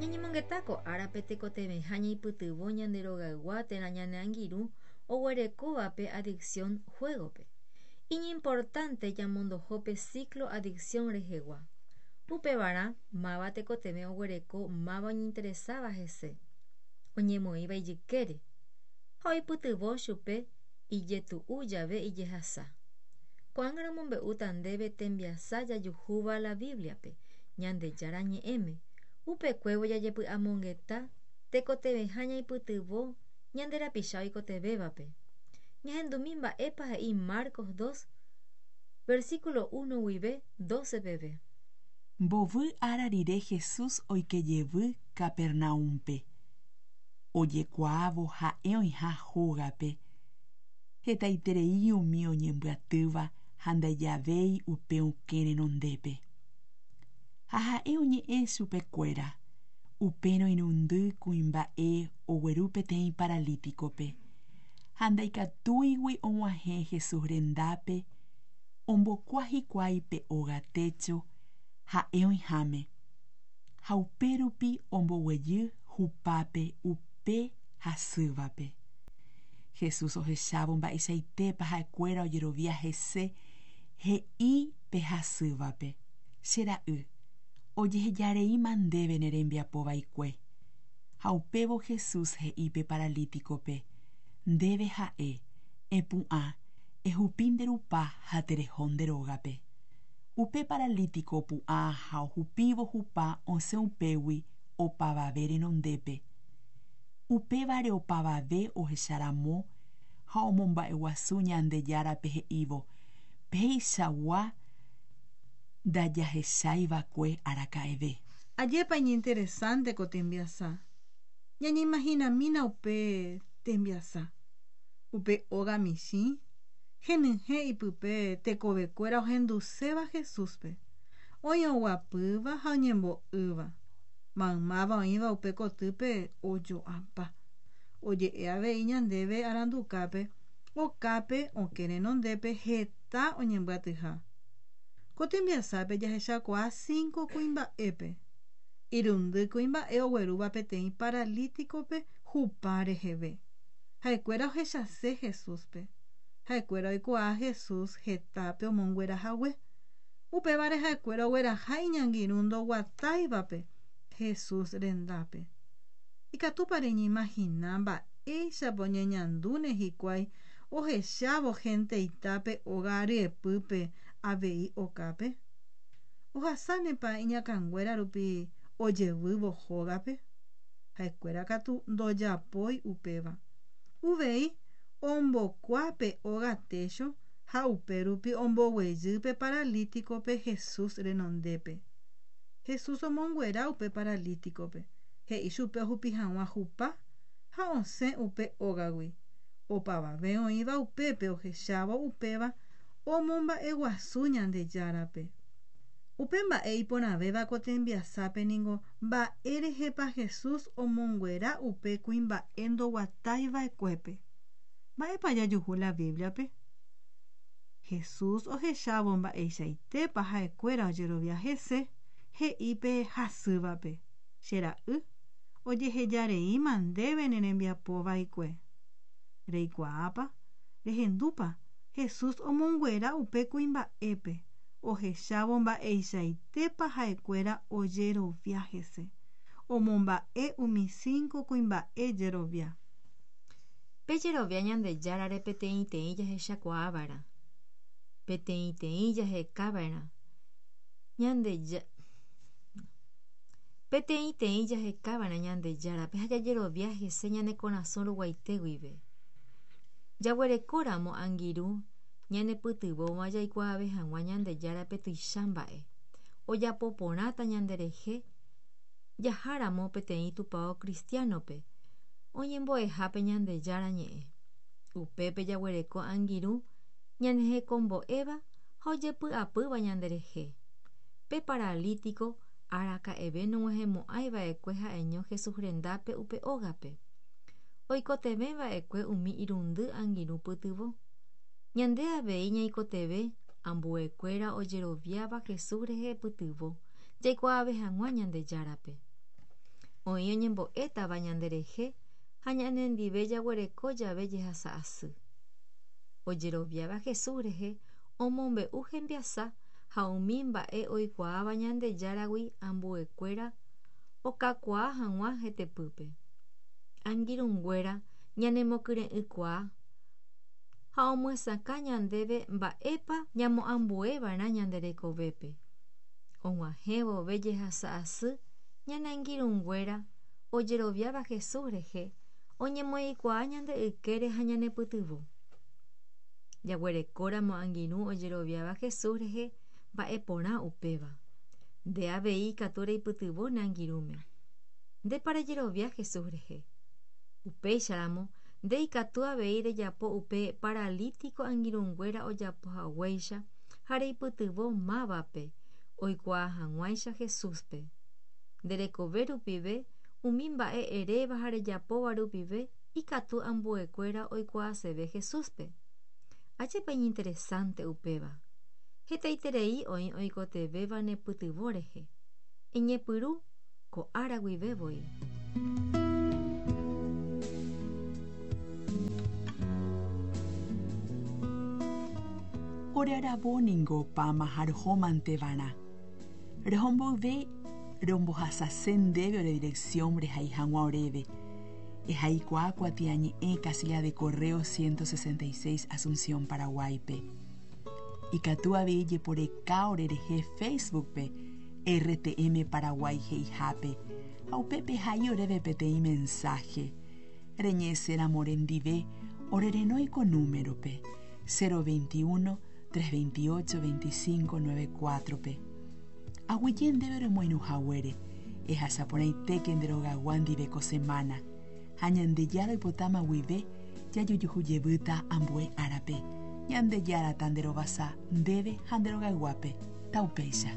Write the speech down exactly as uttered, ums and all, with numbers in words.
Ñañemongeta ko árape tekotevẽha ñaipytyvõ ñande rogaygua térã ñane angirũ oguerekóvape adicción juego-pe. Iñimportante jamondoho pe ciclo adicción rehegua. Upevarã máva tekotevẽ oguereko máva oñeinteresáva hese, oñemoĩva ijykére ha oipytyvõ chupe ijetu'u jave ijehasa. Ko'ág̃a romombe'úta ndéve tembiasa jajuhúva la Biblia-pe, Ñandejára ñe'ẽme. Upekuévo jajepy'amongeta tekotevẽha ñaipytyvõ ñande rapicha oikotevẽvape. Ñahendumi mba'épa he'i Marcos dos, versículo uno guive doce peve. Mbovy ára rire Jesús oike jevy Capernaúmpe. Ojekuaávo ha'e oĩha hógape, hetaiterei umi oñembyatýva ha ndaijavéi upe okẽ renondépe. Ha ha'e oñe'ẽ chupe kuéra. Upérõ irundy kuimba'e ogueru peteĩ paralítikope, ha ndaikatúigui og̃uahẽ Jesús rendápe, ombokua hikuái pe óga técho ha'e oĩháme, ha upérupi omboguejy hupápe upe hasývape. Jesús ohechávo mba'eichaitépa ha'ekuéra ojerovia hese, he'i pe hasývape: Che ra'y, ojehejareíma ndéve ne rembiapo vaikue. Ha upévo Jesús he'i pe paralítikope: Ndéve ha'e, epu'ã, ehupi nde rupa ha tereho nde rógape. Upe paralítiko opu'ã ha ohupívo hupa osẽ upégui opavave renondépe. Upévare opavave ohecharamo ha omomba'eguasu Ñandejárape he'ívo: Peichagua ndajahechaiva'ekue araka'eve. Ajépa iñinteresante ko tembiasa. Ñañeimahinamína upe tembiasa. Upe óga michĩ, henyhẽ ipype tekovekuéra ohenduséva Jesúspe. Oĩ oguapýva ha oñembo'ýva. Maymáva oĩva upe kotýpe ojo'apa. Oje'e avei ñandéve arandukápe, okápe okẽ renondépe heta oñembyatyha. Ko tembiasápe jahechakuaa cinco kuimba'épe. Irundy kuimba'e oguerúva peteĩ paralítikope hupa reheve. Ha'ekuéra ohechase Jesúspe. Ha'ekuéra oikuaa Jesús hetápe omonguerahague. Upévare ha'ekuéra ogueraha iñangirũ ndoguatáivape Jesús rendápe. Ikatúpa reñeimagina mba'éichapa oñeñandúne hikuái ohechávo genteitápe óga ryepýpe avei okápe. Ohasánepa iñakãnguéra rupi ojevývo hógape. Ha'ekuéra katu ndojapói upéva. Uvei ombokuápe óga técho ha upérupi omboguejýpe paralítikope Jesús renondépe. Jesús omonguera upe paralítikope. He'i chupe ohupi hag̃ua hupa ha osẽ upe ógagui. Opavave oĩva upépe ohechávo upéva omomba'eguasu Ñandejárape. Upe mba'e iporãvéva ko tembiasápe ningo mba'érehepa Jesús omonguera upe kuimba'e ndoguataiva'ekuépe. Mba'épa jajuhu la Biblia-pe? Jesús ohechávo mba'eichaitépa ha'ekuéra ojerovia hese, he'i pe hasývape: Che ra'y, ojehejareíma ndéve ne rembiapo vaikue. Reikuaápa, rehendúpa, Jesús omonguera upe kuimba'épe, ohechávo mba'eichaitépa ha'ekuéra ojerovia hese. Omomba'e umi cinco kuimba'e jerovia. Pe jerovia Ñandejárare peteĩteĩ jahechakuaava'erã. Peteĩteĩ jahekava'erã. Ñandeja Peteĩteĩ jahekava'erã Ñandejárape ha jajerovia hese ñane korasõ ruguaite guive. Jaguerekóramo angirũ ñanepytyvõva jaikuaave hag̃ua Ñandejárape tuicha mba'e. Ojapo porãta ñanderehe jaháramo peteĩ tupão cristiano-pe oñembo'ehápe Ñandejára ñe'ẽ. Upépe jaguereko angirũ ñanehekombo'éva ha ojepy'apýva ñanderehe. Pe paralítiko araka'eve nog̃uahẽmo'ãiva'ekue ha'eño Jesús rendápe upe ógape. Oikotevẽva'ekue umi irundy angirũ pytyvõ. Ñande avei ñaikotevẽ ambuekuéra ojeroviáva Jesús rehe pytyvõ jaikuaave hag̃ua Ñandejárape. Oĩ oñembo'étava ñanderehe ha ñanendive jaguereko jave jehasa asy. Ojeroviáva Jesús rehe omombe'u hembiasa ha umi mba'e oikuaáva Ñandejáragui ambuekuéra okakuaa hag̃ua hetepýpe. Angirũnguéra ñanemokyre'ỹkuaa ha omyesakã ñandéve mba'épa ñamoambueva'erã ñande rekovépe. Og̃uahẽ vove jehasa asy ñane angirũnguéra ojeroviáva Jesús rehe oñemoĩkuaa ñande ykére ha ñanepytyvõ. Jaguerekóramo angirũ ojeroviáva Jesús rehe mba'eporã upéva. Nde avei ikatu reipytyvõ ne angirũme. Ndépa rejerovia Jesús rehe. Upéicharamo nde ikatu avei rejapo upe paralítico angirũnguéra ojapohaguéicha ha reipytyvõ mávape oikuaa hag̃uáicha Jesúspe. Nde rekove rupive umi mba'e eréva ha rejapóva rupive ikatu ambuekuéra oikuaaseve Jesúspe. Ajépa iñinteresante upéva. Hetaiterei oĩ oikotevẽva nepytyvõ rehe. Eñepyrũ ko ára guive voi. Ore aravo ningo opáma ha rohómanteva'erã. Roho mboyve rombohasase ndéve ore dirección rehai hag̃ua oréve. Ehaikuaa kuatiañe'ẽ casilla de correo ciento sesenta y seis Asunción, Paraguáipe. Ikatu avei jeporeka orerehe Facebookpe R T M Paraguay he'ihápe ha upépe hai oréve peteĩ mensaje. Reñe'ẽséramo rendive orerenói ko númerope cero veintiuno tres veintiocho veinticinco nueve cuatro-pe. Aguyje ndéve remoirũhaguére, ehasaporãitéke nde rogagua ndive ko semana ha Ñandejára oipotáma guive jajujuhujevýta ambue árape. Ñandejára ta nde rovasa ndéve ha nde rogayguápe. Taupéicha.